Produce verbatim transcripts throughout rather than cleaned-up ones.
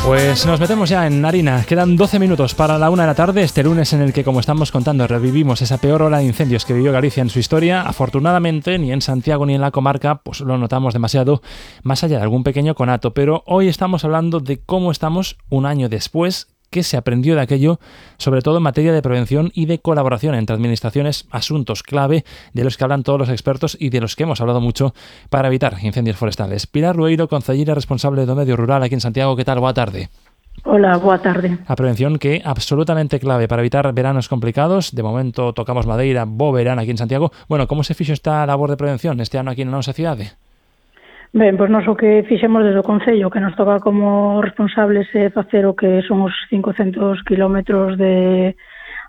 Pues nos metemos ya en harina. Quedan doce minutos para la una de la tarde, este lunes en el que, como estamos contando, revivimos esa peor ola de incendios que vivió Galicia en su historia. Afortunadamente, ni en Santiago ni en la comarca pues lo notamos demasiado, más allá de algún pequeño conato. Pero hoy estamos hablando de cómo estamos un año después, qué se aprendió de aquello, sobre todo en materia de prevención y de colaboración entre administraciones, asuntos clave de los que hablan todos los expertos y de los que hemos hablado mucho para evitar incendios forestales. Pilar Lueiro, concelleira responsable do medio rural aquí en Santiago, que tal? Boa tarde. Hola, boa tarde. A prevención que é absolutamente clave para evitar veranos complicados. De momento tocamos madeira, bo verán aquí en Santiago. Bueno, como se fixo esta labor de prevención este ano aquí na nosa cidade? Ben, pois nós o que fixemos desde o Concello, que nos toca como responsables é facer o que son os cincocentos kilómetros de,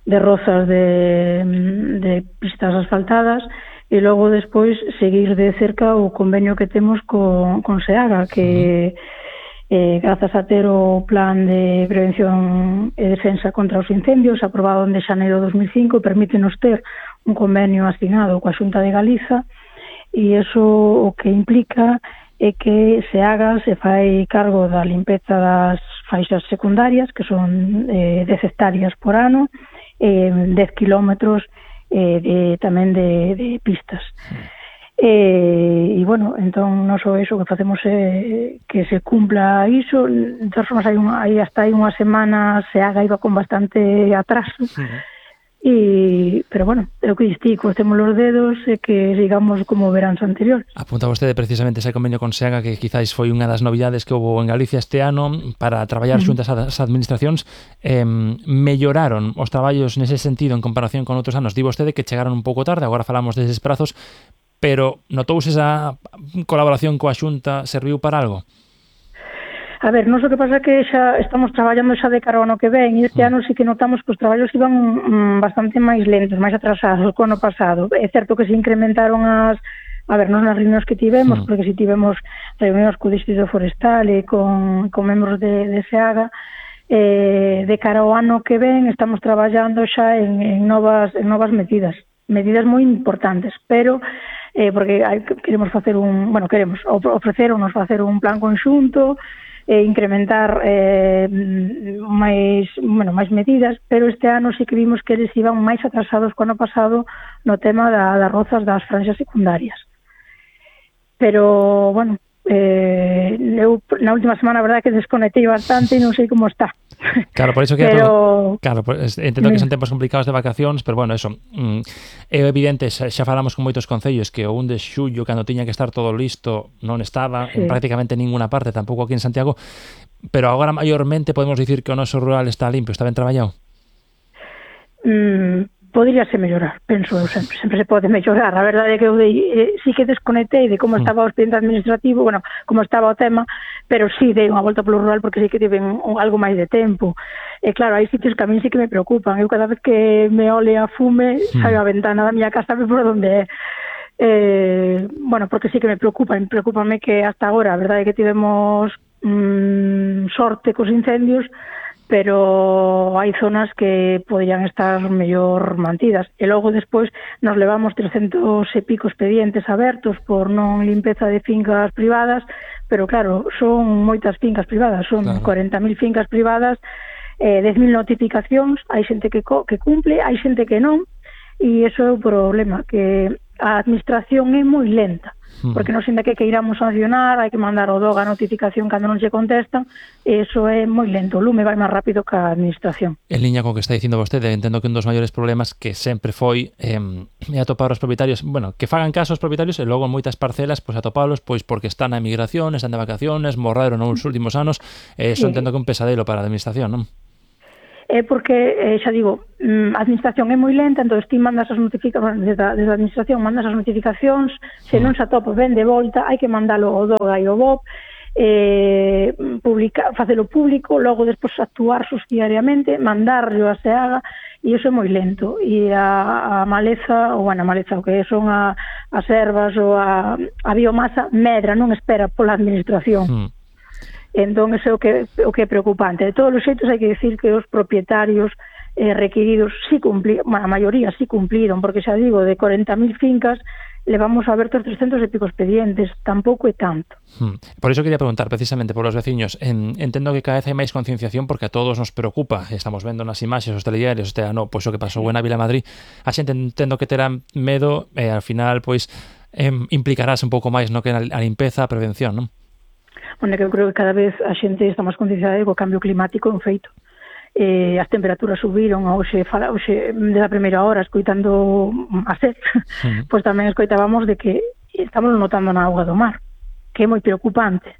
de rozas de, de pistas asfaltadas e logo despois seguir de cerca o convenio que temos con, con SEAGA, que eh, grazas a ter o plan de prevención e defensa contra os incendios aprobado en de xaneiro de dos mil cinco, permítenos ter un convenio asignado coa Xunta de Galiza. E iso o que implica é que SEAGA se fai cargo da limpeza das faixas secundarias, que son eh, dez hectáreas por ano, e eh, dez kilómetros eh, de, tamén de, de pistas. E, e, bueno, entón, non só iso que facemos é que se cumpla iso. De todas formas, hai, unha, hai hasta hai unha semana SEAGA iba con bastante atraso, sí. E, pero bueno, é o que distí, costemos os dedos e que sigamos como veráns anteriores. Apunta vostede precisamente ese convenio con SEAGA que quizáis foi unha das novidades que houve en Galicia este ano para traballar uh-huh. xuntas as administracións. Eh, melloraron os traballos nese sentido en comparación con outros anos. Di vostede que chegaron un pouco tarde, agora falamos deses prazos, pero notouse esa colaboración coa Xunta, serviu para algo? A ver, non sei o que pasa que xa estamos traballando xa de cara ao ano que ven e este mm. ano sí que notamos que os traballos iban mm, bastante máis lentos, máis atrasados que o ano pasado. É certo que se incrementaron as... A ver, non nas reunións que tivemos, mm. porque si tivemos reunións co Distrito Forestal e con, con membros de, de SEAGA, eh, de cara ao ano que ven estamos traballando xa en, en, novas, en novas medidas, medidas moi importantes, pero... Eh, porque hai, queremos facer un... Bueno, queremos ofreceronos facer un plan conxunto, e incrementar eh, máis, bueno, máis medidas, pero este ano sí que vimos que eles iban máis atrasados co ano pasado no tema da, das rozas das franxas secundarias. Pero, bueno, eh, eu na última semana a verdade que desconectei bastante e non sei como está. Claro, por iso que pero... claro, pues, entendo que son tempos complicados de vacacións, pero bueno, eso, mm, é evidente, xa, xa falamos con moitos concellos que o un de xullo, cando tiña que estar todo listo, non estaba sí. en prácticamente ninguna parte, tampouco aquí en Santiago, pero agora maiormente podemos dicir que o noso rural está limpio, está ben traballado? Mm, podríase mellorar, penso eu sempre, sempre se pode mellorar. A verdade é que eu dei, eh, sí que desconectei de como estaba o expediente administrativo, bueno, como estaba o tema, pero sí dei unha volta polo rural porque sí que tive un, algo máis de tempo. E claro, hai sitios que a mí sí que me preocupan. Eu cada vez que me ole a fume, mm. saio a ventana da miña casa por onde é. Eh, bueno, porque sí que me preocupa, me preocupame que hasta agora, a verdade é que tivemos mm, sorte cos incendios, pero hai zonas que poderían estar mellor mantidas. E logo despois nos levamos trescentos e pico expedientes abertos por non limpeza de fincas privadas, pero claro, son moitas fincas privadas, son claro. cuarenta mil fincas privadas, eh, dez mil notificacións, hai xente que, co- que cumple, hai xente que non, e iso é o problema, que a administración é moi lenta. Porque non senda que que iramos sancionar, hai que mandar o D O G a notificación cando non se contestan, e iso é moi lento, o lume vai máis rápido que a administración. En liña co que está dicindo vostede, entendo que un dos maiores problemas que sempre foi eh, atopar os propietarios, bueno, que fagan caso aos propietarios e logo en moitas parcelas, pois atopalos pois porque están na emigración, están de vacaciones, morreron nos últimos anos, e iso entendo que é un pesadelo para a administración, non? É porque, eh, xa digo, a administración é moi lenta, entón ti mandas as notificacións, desde a, desde a administración mandas as notificacións, se non se atopa ben de volta, hai que mandalo ao D O G e ao B O P, eh, publica, facelo público, logo despois actuar subsidiariamente, mandarlo a SEAGA, e iso é moi lento. E a, a maleza, ou bueno, a maleza, o que son a, as ervas ou a, a biomasa, medra, non espera pola administración. Mm. Entón, iso é o que, o que é preocupante. De todos os xeitos, hai que decir que os propietarios eh, requiridos sí cumpliron, a maioría sí cumpliron, porque xa digo, de corenta mil fincas levamos abertos trescentos e pico expedientes, tampouco é tanto. Hmm. Por iso quería preguntar precisamente por os veciños. En, entendo que cada vez hai máis concienciación porque a todos nos preocupa. Estamos vendo nas imaxes, os telediarios, este ano, pois o que pasou en Ávila Madrid. A xente entendo que terá medo e ao final, pois, eh, implicarás un pouco máis no que a limpeza, a prevención, non? Bueno, que eu creo que cada vez a xente está máis concienciada co cambio climático en feito. Eh, as temperaturas subiron, hoxe, fala, hoxe da primeira hora escoitando a sed, sí. Pois tamén escoitábamos de que estamos notando na auga do mar, que é moi preocupante.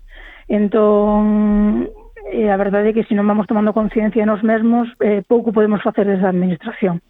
Entón, eh, a verdade é que se non vamos tomando conciencia nos mesmos, eh, pouco podemos facer desde a administración.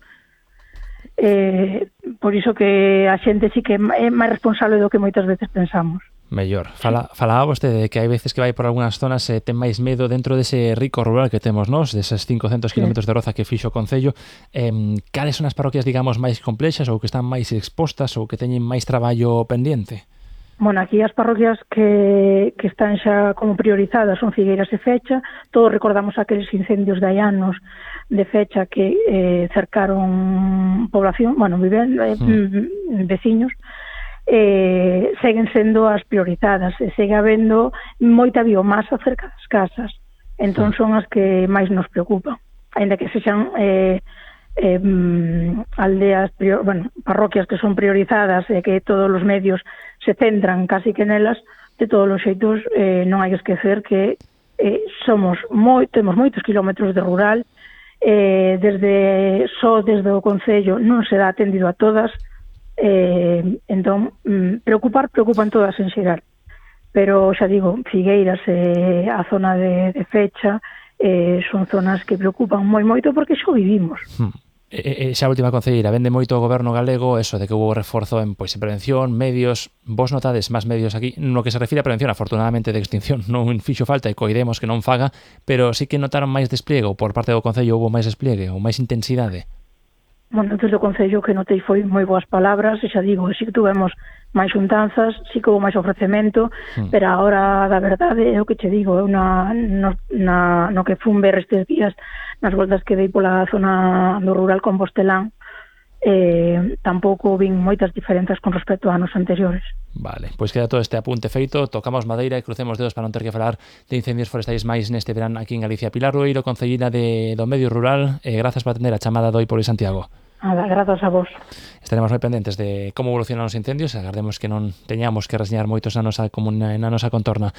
Eh, por iso que a xente sí que é máis responsable do que moitas veces pensamos. Mellor. Fala, falaba vostede de que hai veces que vai por algunhas zonas e eh, ten máis medo dentro dese rico rural que temos nós, deses cincocentos kilómetros de roza que fixo o Concello. Eh, cales son as parroquias, digamos, máis complexas ou que están máis expostas ou que teñen máis traballo pendiente? Bueno, aquí as parroquias que, que están xa como priorizadas son Figueiras e Fecha. Todos recordamos aqueles incendios de hai anos de Fecha que eh, cercaron población, bueno, viven, eh, mm. veciños. Eh, seguen sendo as priorizadas e segue habendo moita biomasa cerca das casas, entón son as que máis nos preocupan, aínda que sexan eh, eh, aldeas, prior, bueno, parroquias que son priorizadas e que todos os medios se centran casi que nelas. De todos os xeitos, eh, non hai que esquecer que eh, somos moi, temos moitos kilómetros de rural, eh, desde só desde o Concello non se dá atendido a todas. Eh, entón, mm, preocupar, preocupan todas en xeral, pero xa digo, Figueiras e eh, a zona de, de Fecha eh, son zonas que preocupan moi moito porque xo vivimos. Hmm. E, e, xa última concelleira, vende moito o goberno galego eso de que hubo reforzo en, pois, en prevención, medios. Vos notades máis medios aquí no que se refire a prevención, afortunadamente de extinción non fixo falta e coidemos que non faga, pero sí que notaron máis despliegue ou por parte do Concello houve máis despliegue ou máis intensidade? Bueno, desde o Concello que notei foi moi boas palabras, e xa digo, si que tuvemos máis xuntanzas, si que houve máis ofrecemento, hmm. pero a hora da verdade é o que che digo, eu na, no, na, no que fun ver estes días, nas voltas que dei pola zona do rural compostelán, eh, tampouco vin moitas diferenzas con respecto a anos anteriores. Vale, pois queda todo este apunte feito, tocamos madeira e crucemos dedos para non ter que falar de incendios forestais máis neste verán aquí en Galicia. Pilar Rueiro, concellina de, do Medio Rural, eh, grazas por atender a chamada de hoy por Santiago. Nada, grazas a vos. Estaremos moi pendentes de como evolucionan os incendios, agardemos que non teñamos que reseñar moitos na nosa comuna, na nosa contorna.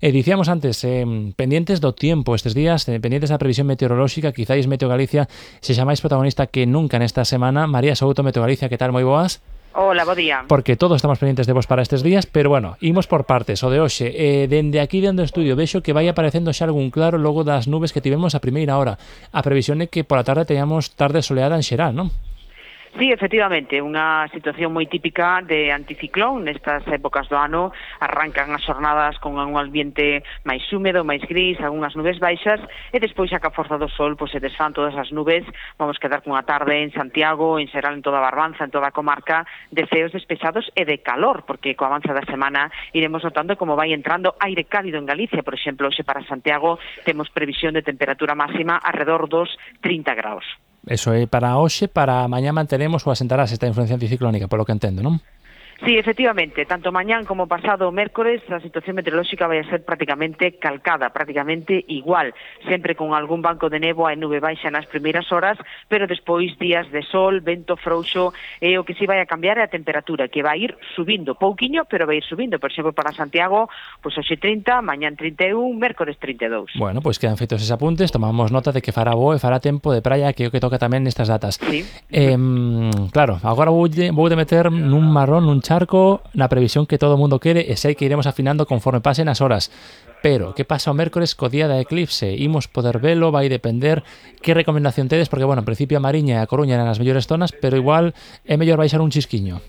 E dicíamos antes, eh, pendientes do tempo estes días, eh, pendientes da previsión meteorolóxica, quizáis Meteo Galicia sexa máis protagonista que nunca nesta semana. María Souto, Meteo Galicia, que tal? Moi boas. Hola, bo día. Porque todos estamos pendientes de vos para estes días, pero bueno, imos por partes. O de hoxe, eh, dende aquí dentro do estudio, vexo que vai aparecendo xa algún claro logo das nubes que tivemos a primeira hora. A previsión é que pola tarde teñamos tarde soleada en xeral, non? Sí, efectivamente, unha situación moi típica de anticiclón. Nestas épocas do ano arrancan as xornadas con un ambiente máis húmedo, máis gris, algunhas nubes baixas, e despois, xa que a forza do sol pois, se desfán todas as nubes, vamos quedar cunha tarde en Santiago, en xeral en toda a Barbanza, en toda a comarca, de ceos despechados e de calor, porque coa avanza da semana iremos notando como vai entrando aire cálido en Galicia. Por exemplo, hoxe para Santiago temos previsión de temperatura máxima alrededor dos trinta graus. Eso é para hoxe, para mañá manteremos ou asentarás esta influencia anticiclónica, polo que entendo, non? Sí, efectivamente, tanto mañán como pasado mércores a situación meteorolóxica vai a ser prácticamente calcada, prácticamente igual, sempre con algún banco de néboa e nube baixa nas primeiras horas, pero despois días de sol, vento frouxo, e o que si vai a cambiar é a temperatura, que vai ir subindo, pouquiño, pero vai ir subindo. Por exemplo, para Santiago, pois hoxe trinta, mañán trinta e un, mércores trinta e dous. Bueno, pois quedan feitos eses apuntes, tomamos nota de que fará bo e fará tempo de praia, que é o que toca tamén nestas datas. Sí. Eh, claro, agora vou de, vou de meter nun marrón, nun charco, na previsión que todo o mundo quere, e sei que iremos afinando conforme pasen as horas. Pero, que pasa o mércores co día da eclipse? Imos poder velo, vai depender que recomendación tedes, porque, bueno, en principio a Mariña e a Coruña eran as mellores zonas, pero igual é mellor baixar un chisquiño.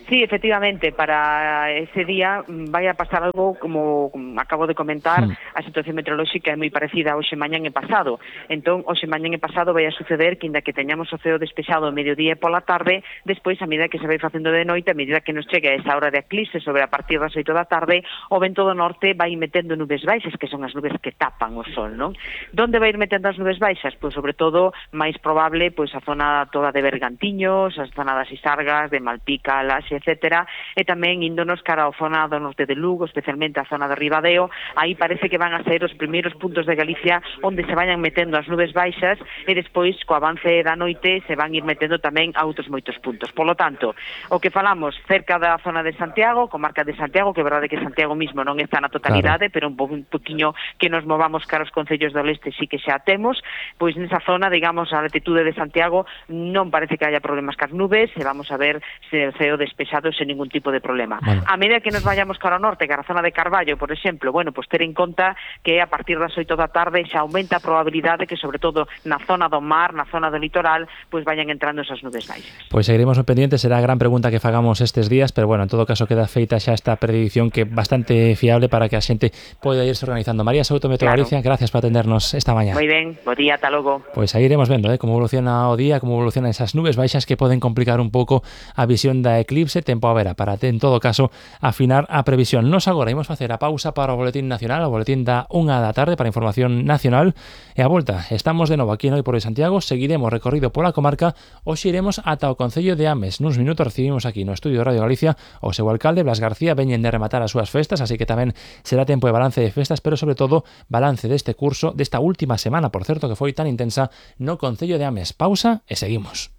Sí, efectivamente, para ese día vai a pasar algo como, como acabo de comentar, mm. a situación meteorolóxica é moi parecida a hoxe mañán e pasado. Entón, hoxe mañán e pasado vai a suceder que, inda que teñamos o ceo despexado ao mediodía e pola tarde, despois, a medida que se vai facendo de noite, a medida que nos chegue a esa hora de eclipse sobre a partir das oito da tarde, o vento do norte vai metendo nubes baixas, que son as nubes que tapan o sol, non? Donde vai ir metendo as nubes baixas? Pois, sobre todo, máis probable, pois a zona toda de Bergantiños, a zona das Isargas, de Malpica, Laxe, etcétera, e tamén índonos cara ao zona do norte de Lugo, especialmente a zona de Ribadeo. Aí parece que van a ser os primeiros puntos de Galicia onde se vayan metendo as nubes baixas e despois, co avance da noite, se van ir metendo tamén a outros moitos puntos. Por lo tanto, o que falamos cerca da zona de Santiago, comarca de Santiago, que é verdade que Santiago mismo non está na totalidade, claro, pero un, po, un poquinho que nos movamos cara aos concellos do leste sí que xa temos, pois nesa zona, digamos, a latitude de Santiago non parece que haya problemas cas nubes, e vamos a ver se o ceo despexado sen ningún tipo de problema. Bueno. A medida que nos vayamos cara ao norte, cara a zona de Carballo, por exemplo, bueno, pues ter en conta que a partir das oito da tarde xa aumenta a probabilidade que, sobre todo na zona do mar, na zona do litoral, pues vayan entrando esas nubes baixas. Pois seguiremos pendientes, será a gran pregunta que fagamos estes días, pero bueno, en todo caso queda feita xa esta predicción que é bastante fiable para que a xente poida irse organizando. María Souto, Meteo claro. Galicia, gracias por atendernos esta mañá. Moi ben, bo día, ata logo. Pois aí iremos vendo, eh, como evoluciona o día, como evolucionan esas nubes baixas que poden complicar un pouco a visión da eclipse, tempo a vera, para en todo caso afinar a previsión. Nos agora imos facer a pausa para o boletín nacional, o boletín da unha da tarde para información nacional, e a volta estamos de novo aquí en Hoy por Hoy Santiago, seguiremos recorrido pola comarca, hoxe iremos ata o concello de Ames. Nuns minutos recibimos aquí no estudio de Radio Galicia o seu alcalde Blas García, veñen de rematar as súas festas, así que tamén será tempo de balance de festas, pero sobre todo balance deste curso, desta última semana, por certo, que foi tan intensa no concello de Ames. Pausa e seguimos.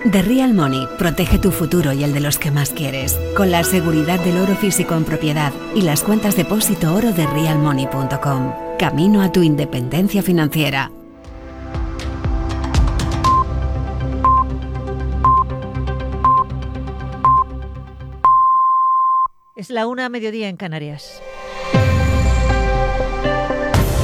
The Real Money protege tu futuro y el de los que más quieres, con la seguridad del oro físico en propiedad y las cuentas depósito oro de real money punto com. Camino a tu independencia financiera. Es la una a mediodía en Canarias.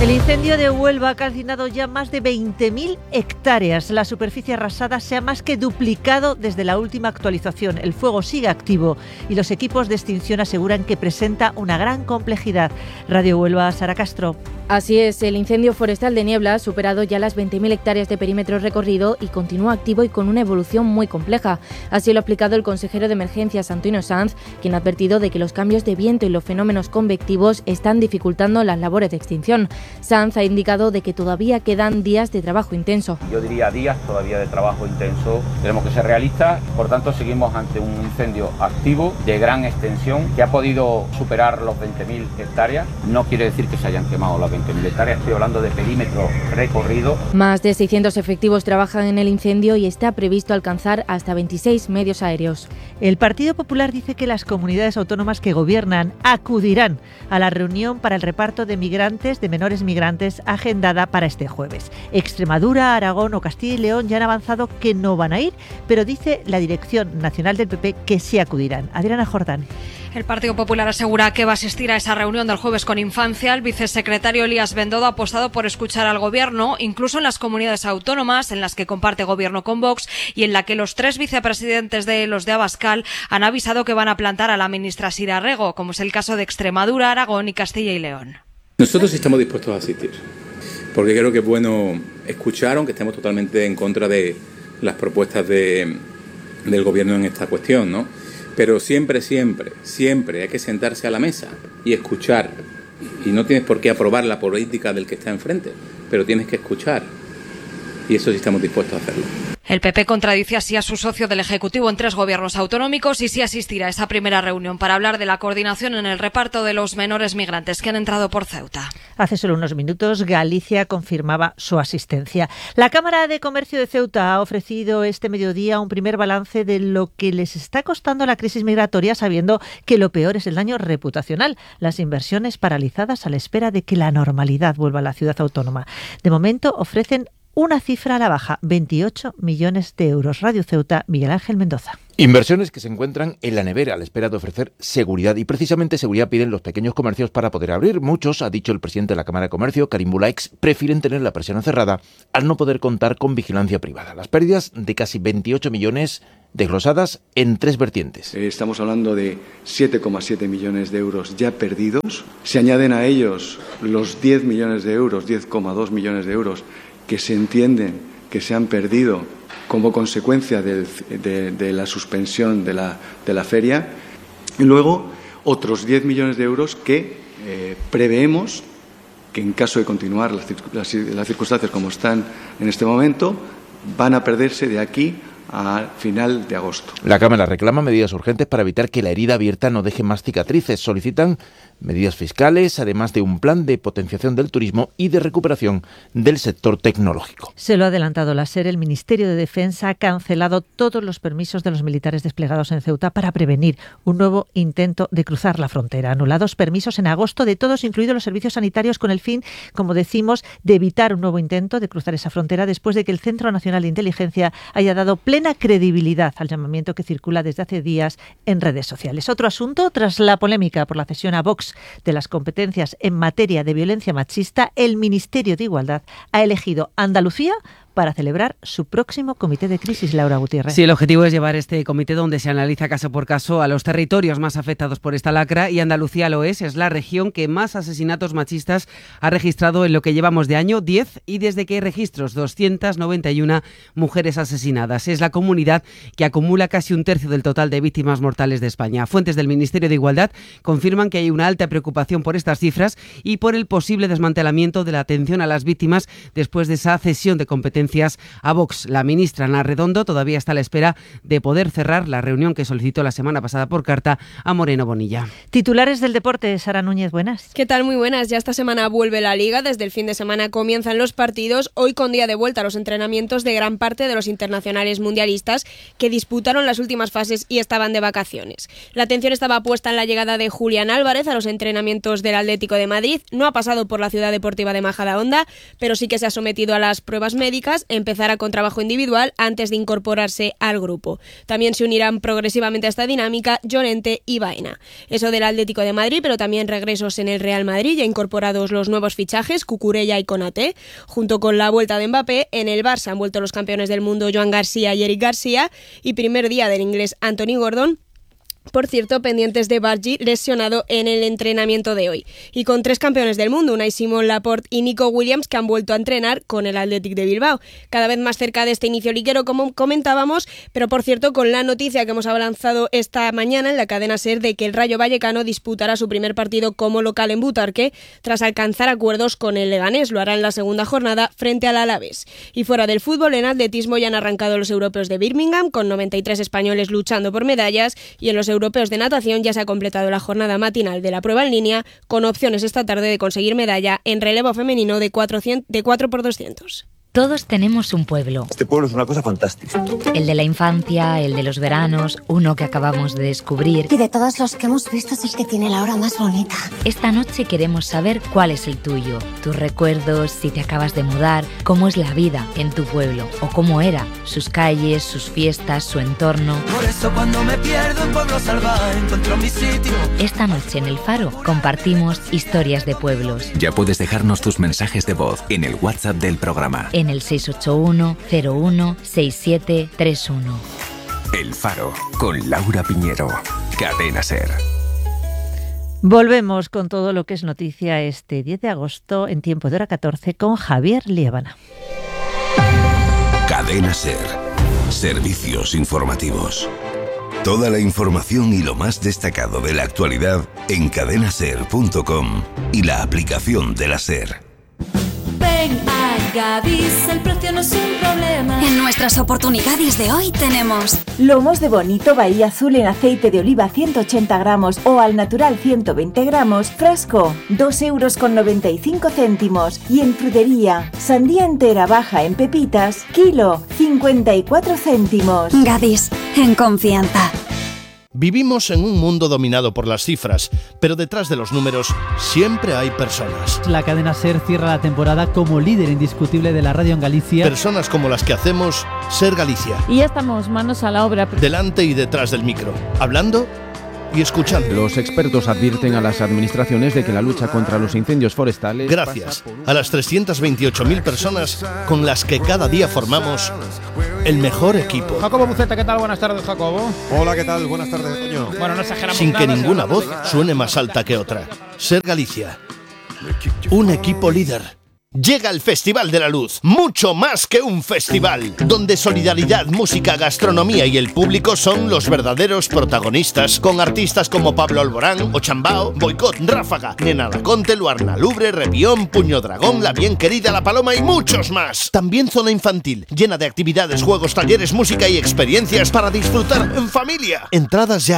El incendio de Huelva ha calcinado ya más de veinte mil hectáreas. La superficie arrasada se ha más que duplicado desde la última actualización. El fuego sigue activo y los equipos de extinción aseguran que presenta una gran complejidad. Radio Huelva, Sara Castro. Así es, el incendio forestal de Niebla ha superado ya las veinte mil hectáreas de perímetro recorrido y continúa activo y con una evolución muy compleja. Así lo ha explicado el consejero de Emergencias, Antonio Sanz, quien ha advertido de que los cambios de viento y los fenómenos convectivos están dificultando las labores de extinción. Sanz ha indicado de que todavía quedan días de trabajo intenso. Yo diría días todavía de trabajo intenso. Tenemos que ser realistas, por tanto seguimos ante un incendio activo de gran extensión que ha podido superar los veinte mil hectáreas. No quiere decir que se hayan quemado las veinte mil hectáreas, estoy hablando de perímetro recorrido. Más de seiscientos efectivos trabajan en el incendio y está previsto alcanzar hasta veintiséis medios aéreos. El Partido Popular dice que las comunidades autónomas que gobiernan acudirán a la reunión para el reparto de migrantes, de menores migrantes, agendada para este jueves. Extremadura, Aragón o Castilla y León ya han avanzado que no van a ir, pero dice la Dirección Nacional del P P que sí acudirán. Adriana Jordán. El Partido Popular asegura que va a asistir a esa reunión del jueves con Infancia. El vicesecretario Elías Bendodo ha apostado por escuchar al Gobierno, incluso en las comunidades autónomas en las que comparte Gobierno con Vox y en la que los tres vicepresidentes de los de Abascal han avisado que van a plantar a la ministra Sira Rego, como es el caso de Extremadura, Aragón y Castilla y León. Nosotros estamos dispuestos a asistir, porque creo que es bueno escuchar, aunque estemos totalmente en contra de las propuestas de, del Gobierno en esta cuestión, ¿no? Pero siempre, siempre, siempre hay que sentarse a la mesa y escuchar. Y no tienes por qué aprobar la política del que está enfrente, pero tienes que escuchar. Y eso sí estamos dispuestos a hacerlo. El P P contradice así a su socio del Ejecutivo en tres gobiernos autonómicos y sí asistirá a esa primera reunión para hablar de la coordinación en el reparto de los menores migrantes que han entrado por Ceuta. Hace solo unos minutos Galicia confirmaba su asistencia. La Cámara de Comercio de Ceuta ha ofrecido este mediodía un primer balance de lo que les está costando la crisis migratoria, sabiendo que lo peor es el daño reputacional, las inversiones paralizadas a la espera de que la normalidad vuelva a la ciudad autónoma. De momento ofrecen una cifra a la baja, veintiocho millones de euros. Radio Ceuta, Miguel Ángel Mendoza. Inversiones que se encuentran en la nevera a la espera de ofrecer seguridad, y precisamente seguridad piden los pequeños comercios para poder abrir. Muchos, ha dicho el presidente de la Cámara de Comercio, Karim Bulaix, prefieren tener la persiana cerrada al no poder contar con vigilancia privada. Las pérdidas de casi veintiocho millones desglosadas en tres vertientes. Estamos hablando de siete coma siete millones de euros ya perdidos. Se añaden a ellos los diez millones de euros, diez coma dos millones de euros que se entienden que se han perdido como consecuencia del, de, de la suspensión de la, de la feria. Y luego otros diez millones de euros que eh, preveemos que en caso de continuar las, las, las circunstancias como están en este momento, van a perderse de aquí a final de agosto. La Cámara reclama medidas urgentes para evitar que la herida abierta no deje más cicatrices. Solicitan medidas fiscales, además de un plan de potenciación del turismo y de recuperación del sector tecnológico. Se lo ha adelantado la SER. El Ministerio de Defensa ha cancelado todos los permisos de los militares desplegados en Ceuta para prevenir un nuevo intento de cruzar la frontera. Anulados permisos en agosto de todos, incluidos los servicios sanitarios, con el fin, como decimos, de evitar un nuevo intento de cruzar esa frontera después de que el Centro Nacional de Inteligencia haya dado plena credibilidad al llamamiento que circula desde hace días en redes sociales. Otro asunto, tras la polémica por la cesión a Vox de las competencias en materia de violencia machista, el Ministerio de Igualdad ha elegido Andalucía para celebrar su próximo comité de crisis, Laura Gutiérrez. Sí, el objetivo es llevar este comité donde se analiza caso por caso a los territorios más afectados por esta lacra, y Andalucía lo es, es la región que más asesinatos machistas ha registrado en lo que llevamos de año, diez, y desde que hay registros, doscientas noventa y una mujeres asesinadas. Es la comunidad que acumula casi un tercio del total de víctimas mortales de España. Fuentes del Ministerio de Igualdad confirman que hay una alta preocupación por estas cifras y por el posible desmantelamiento de la atención a las víctimas después de esa cesión de competencias a Vox. La ministra Ana Redondo todavía está a la espera de poder cerrar la reunión que solicitó la semana pasada por carta a Moreno Bonilla. Titulares del deporte, Sara Núñez, buenas. ¿Qué tal? Muy buenas. Ya esta semana vuelve la Liga. Desde el fin de semana comienzan los partidos. Hoy con día de vuelta a los entrenamientos de gran parte de los internacionales mundialistas que disputaron las últimas fases y estaban de vacaciones. La atención estaba puesta en la llegada de Julián Álvarez a los entrenamientos del Atlético de Madrid. No ha pasado por la Ciudad Deportiva de Majadahonda, pero sí que se ha sometido a las pruebas médicas. Empezará con trabajo individual antes de incorporarse al grupo. También se unirán progresivamente a esta dinámica Llorente y Baena. Eso del Atlético de Madrid, pero también regresos en el Real Madrid, ya incorporados los nuevos fichajes, Cucurella y Konaté. Junto con la vuelta de Mbappé, en el Barça han vuelto los campeones del mundo Joan García y Eric García, y primer día del inglés Anthony Gordon. Por cierto, pendientes de Bargi, lesionado en el entrenamiento de hoy. Y con tres campeones del mundo, Unai Simón, Laporte y Nico Williams, que han vuelto a entrenar con el Athletic de Bilbao. Cada vez más cerca de este inicio liguero, como comentábamos, pero por cierto, con la noticia que hemos avanzado esta mañana en la cadena SER de que el Rayo Vallecano disputará su primer partido como local en Butarque, tras alcanzar acuerdos con el Leganés. Lo hará en la segunda jornada frente al Alavés. Y fuera del fútbol, en atletismo ya han arrancado los europeos de Birmingham, con noventa y tres españoles luchando por medallas, y en los europeos de natación ya se ha completado la jornada matinal de la prueba en línea, con opciones esta tarde de conseguir medalla en relevo femenino de cuatro por doscientos. Todos tenemos un pueblo. Este pueblo es una cosa fantástica. El de la infancia, el de los veranos, uno que acabamos de descubrir. Y de todos los que hemos visto es el que tiene la hora más bonita. Esta noche queremos saber cuál es el tuyo, tus recuerdos, si te acabas de mudar, cómo es la vida en tu pueblo o cómo era, sus calles, sus fiestas, su entorno. Por eso cuando me pierdo en Pueblo Salvaje encuentro mi sitio. Esta noche en El Faro compartimos historias de pueblos. Ya puedes dejarnos tus mensajes de voz en el WhatsApp del programa. En el seis ocho uno cero uno seis siete tres uno. El Faro, con Laura Piñero. Cadena SER. Volvemos con todo lo que es noticia este diez de agosto en tiempo de hora catorce con Javier Liébana. Cadena SER. Servicios informativos. Toda la información y lo más destacado de la actualidad en cadena ser punto com y la aplicación de la SER. Ven a Gadis, el precio no es un problema. En nuestras oportunidades de hoy tenemos lomos de bonito Bahía Azul en aceite de oliva ciento ochenta gramos o al natural ciento veinte gramos, frasco, dos euros con noventa y cinco céntimos. Y en frutería, sandía entera baja en pepitas, kilo, cincuenta y cuatro céntimos. Gadis, en confianza. Vivimos en un mundo dominado por las cifras, pero detrás de los números siempre hay personas. La cadena SER cierra la temporada como líder indiscutible de la radio en Galicia. Personas como las que hacemos SER Galicia. Y ya estamos manos a la obra. Delante y detrás del micro, hablando y escuchando. Los expertos advierten a las administraciones de que la lucha contra los incendios forestales... Gracias a las trescientas veintiocho mil personas con las que cada día formamos el mejor equipo. Jacobo Buceta, ¿qué tal? Buenas tardes, Jacobo. Hola, ¿qué tal? Buenas tardes, Toño. Bueno, no exageramos Sin que nada, ninguna voz suene más alta que otra. Ser Galicia. Un equipo líder. Llega el Festival de la Luz, mucho más que un festival, donde solidaridad, música, gastronomía y el público son los verdaderos protagonistas, con artistas como Pablo Alborán, Ochambao, Boicot, Ráfaga, Nena Laconte, Luarna Lubre, Revión, Puño Dragón, La Bien Querida, La Paloma y muchos más. También zona infantil, llena de actividades, juegos, talleres, música y experiencias para disfrutar en familia. Entradas ya a la